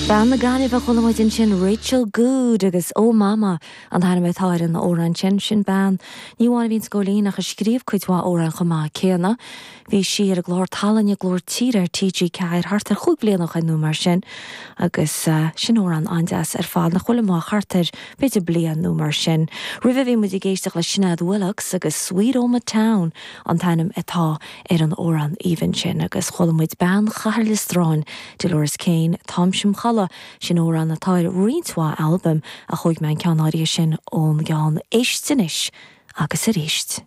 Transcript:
Bean na Gaillimhe a chuala muid ansin, Rachel Goode agus Oh Mama an t-ainm atá ar an amhrán sin. Sin bean, ní amháin a bhíonns ag Góilín ach a scríobh cuid mhaith amhrán chomh maith céanna. Bhí sí ar an gclár tallainne Glór Tíre ar TG4 thart ar chúig bhliana ó shoin nó mar sin agus sin amhrán an-deas ar fad nach bhfuil amuigh ach thart ar b'fhéidir bliain nó mar sin. Roimhe bhí muid ag éisteacht le Sinéad Willox agus Sweet Omagh Town an t-ainm atá ar an amhrán aoibhinn sin agus chuala muid bean Chathair Loistreáin, Dolores Keane, Táimse im Chodladh, sin amhrán atá ar roinnt mhaith albaim ach thóig mé an ceann áirithe sin ón gceann Éist Anois agus Arís.